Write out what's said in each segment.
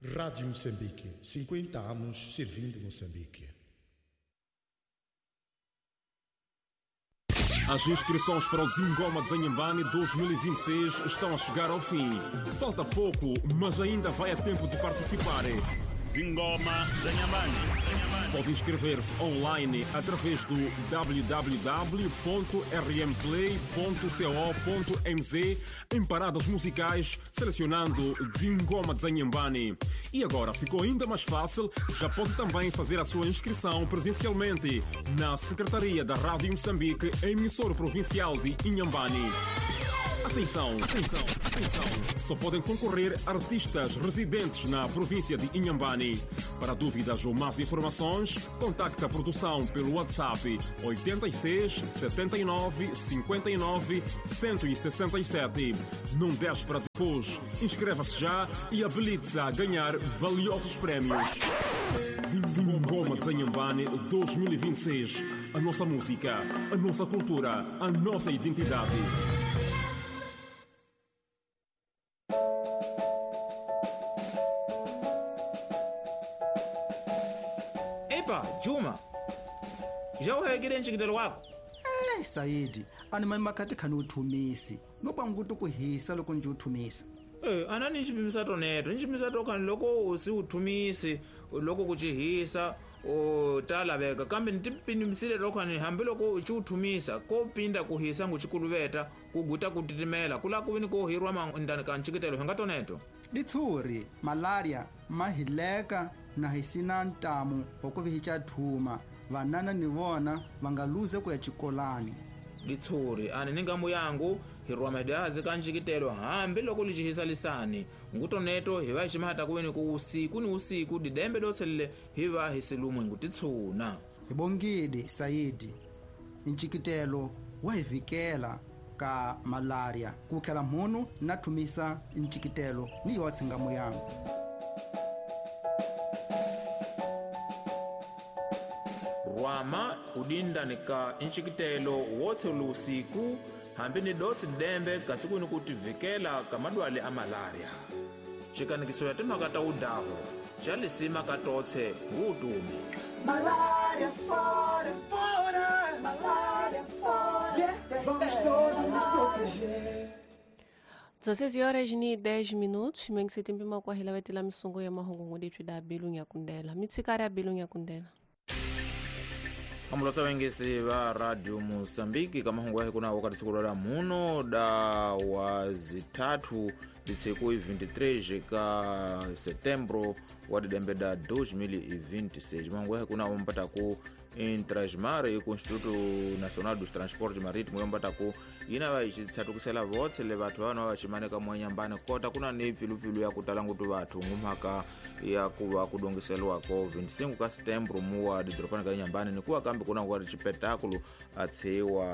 Rádio Moçambique, 50 anos servindo Moçambique. As inscrições para o Zingoma de Inhambane 2026 estão a chegar ao fim. Falta pouco, mas ainda vai a tempo de participar. Zingoma de Inhambane. Pode inscrever-se online através do www.rmplay.co.mz em paradas musicais, selecionando Zingoma de Inhambane. E agora ficou ainda mais fácil, já pode também fazer a sua inscrição presencialmente na Secretaria da Rádio Moçambique, emissora provincial de Inhambane. Atenção, atenção, atenção! Só podem concorrer artistas residentes na província de Inhambane. Para dúvidas ou mais informações, contacte a produção pelo WhatsApp 86 79 59 167. Não deixe para depois. Inscreva-se já e habilite-se a ganhar valiosos prémios. Zingoma de Inhambane 2026. A nossa música, a nossa cultura, a nossa identidade. Epa, Juma. Já uhekile ncikitelo wako? Eh, Saidi, ani mani makhati khani uthumisi. No panguti ku hisa loko nje uthumisa. Eh, anani nchipimisa toneto, nchipimisa tokhani loko usi uthumisi, loko kuchihisa, o talaveka kambe ntipimisile tokhani hambi loko uchiuthumisa kopinda kuhisa nguchikuluveta kuguta kutitimela kula kuvini kohirwa mandani ka ncikitelo hinga toneto. Ditshuri, malaria, mahileka na hisina ntamu wa ku vihicha thuma. Vanana ni vona va nga luze ku ya xikolani. Ditshuri ani ni ngambu yangu hirwa madazi ka ncikitelo hambi loko licihisa lisani ngutoneto hi va hi ximahata kuveni ku usiku ni usiku didembe dotselele hi va hi silumwe ngutitshuna. Hi bongile Saidi, ncikitelo wa hi vikela ka malaria ku khela mhunu na thumisa ncikitelo ni yotse ngamu yangu. Rwama udindani ka ncikitelo wotse lusiku hambi ni dotsi dembe kasi kuni kutivikela ka madwale a malaria. Xikanikiso ya timhaka ta udaho xa lisima ka totse ngutumi. Malaria fora, fora, malaria fora. Yeah, vamos todos nos proteger. 16 horas ni 10 minutos, mengi setembe makwahela vetela misungo ya mahungu ngudiphi da bilu nyakundela. Mitsikari ya bilu nyakundela. Amulosa wengesi va Radio Mozambique kamahungu yahe kuna wakati siku la muno da wa zitatu disiku 23 ka setembro wa didembe da 2026. Mahungu yahe kuna umpata ku Intrasmar ku Instituto Nacional dos Transportes Marítimos yompata ku ina va ixitsatukisela votse le vathu vana va ximaneka mwanyambani kota kuna ni pfilupilu ya kutala ngutu vathu ngumhaka ya kuva kudongiseliwako 25 ka setembro muwa didorobani ka Inhambane ni kuwa kambe kuna ngwari chipetakulu atsiwa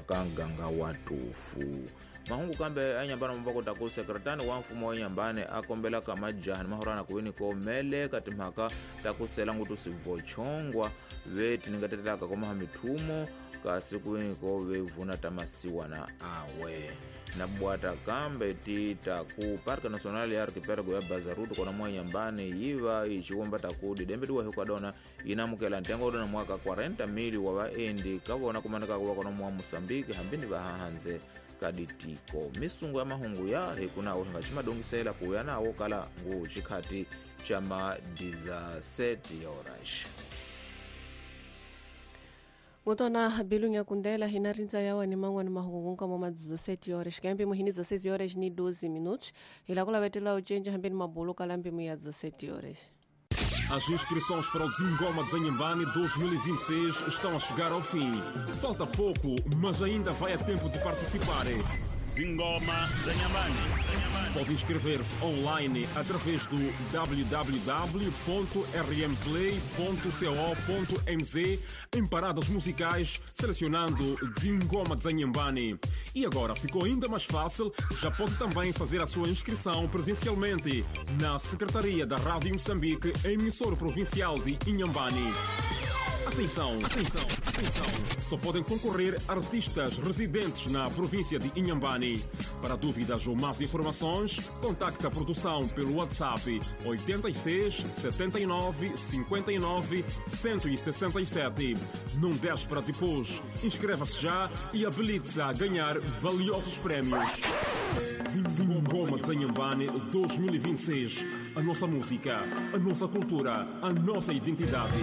ka nganga wa tufu. Mahungu kambe a Inhambane mubakota ku sekretani wa mfumo wa Inhambane a kombela ka majaha ni mahorana kuwini komele ka timhaka ta kusela ngutu sivochongwa ve tiningatetelaka komaha mithumo kasi kuwini ko ve vuna ta masiwana awe. Na bwata kambe tita ku Parque Nacional ya Arquipélago ya Bazaruto kona mwa Inhambane yiva ichiwomba taku didembe diwa hikwadona inamukela ntengo dona mwaka 40,000 wa vaendi kavona kumaneka kuwa kona mwa Mozambique hambini vahahanze kaditiko. Misungo ya mahungu ya hikunawo hinga chimadongisela kuya nawo kala ngu chikhati cha ma 17 horas. Ngotona bilu nyakundela hina rindza yawa ni mangwani mahungu kama ma 17 horas kambe muhini 16 horas ni 12 minutos ila kula vetela uchenja hambeni mabulu kalambe mu ya 17 horas. As inscrições para o Zingoma de Inhambane 2026 estão a chegar ao fim. Falta pouco, mas ainda vai a tempo de participar. Zingoma de Inhambane. Pode inscrever-se online através do www.rmplay.co.mz em paradas musicais, selecionando Zingoma de Inhambane. E agora ficou ainda mais fácil, já pode também fazer a sua inscrição presencialmente na Secretaria da Rádio Moçambique, emissora provincial de Inhambane. Atenção, atenção, Atenção, só podem concorrer artistas residentes na província de Inhambane. Para dúvidas ou mais informações, contacte a produção pelo WhatsApp 86 79 59 167. Não deixe para depois. Inscreva-se já e habilite-se a ganhar valiosos prémios. Zingoma de Inhambane 2026. A nossa música, a nossa cultura, a nossa identidade.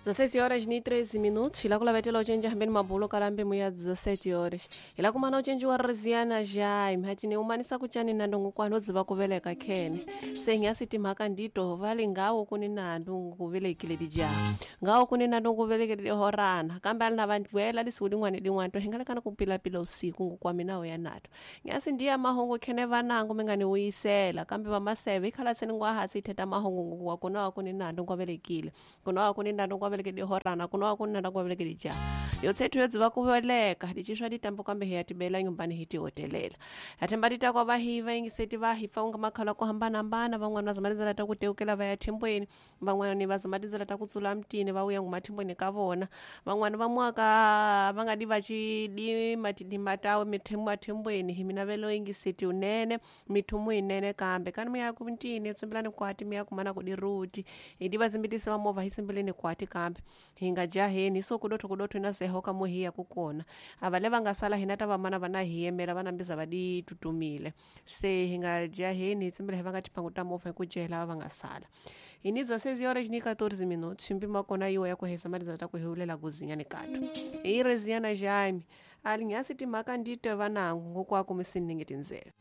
16 horas ni 13 minutos ila kulavetela ucenji hambeni mabulo kalambe muya 17 horas ila kumana ucenji wa riziana jai mhatini umanisa kuchani nandongo kwano dziva kuveleka khene sengyasi timhaka ndito vali ngawo kuni nandu kuvelekile dijaha ngawo kuni nandu kuvelekile dihorana kambe ali na vanduela lisiku lin'wana lin'wana to hingalekana kupilapila usiku ngukwami nawo ya nato nyasi ndiya mahungu khene vanangu mi nga ni wuyisela kambe vamaseve ikhala tseni ngwa hatsi itheta mahungu ngukuwa kunawa kuni nandu ngwavelekile kunawa kuni nandu ngwavelekile dihorana kunawa kuni nandu ngwavelekile dijaha yotsethu yodziva kuveleka diciswa ditambo kambe hi ya tibela nyumbani hi tihotelela hathemba titakwa va hi va yingiseti va hi pfa kunga makhala ku hambanahambana van'wana va zama tindzela ta ku teukela va ya thembweni van'wana va zama tindzela ta ku tsula mutini va vuya nguma thembweni ka vona van'wana va mwaka va nga di va xidima tidima tawe mathembweni hi mina velo yingiseti unene mithumu yinene kambe kani mi ya ku ntini tsimbelani kwati mi ya kumana ku diruti hi di va zimbitisi va movha hi tsimbeleni kwati kambe hi nga jaheni so kudotho kudotho na seho ka muhiya ku kona ava le va nga sala hina ta vamana va na hi yemela va nambiza va di tutumile se hi nga jaheni hi tsimbela hi va nga timhangu ta movha hi ku jehela va nga sala hi ni 16 horas ni 14 minutos mpimo wa kona yiwo ya ku hesa malizana ta ku hiwulela kuzinyani kato hi reziana jaime ali nyasi timhaka nditwe vanangu ngokwaku misiningi tindzela.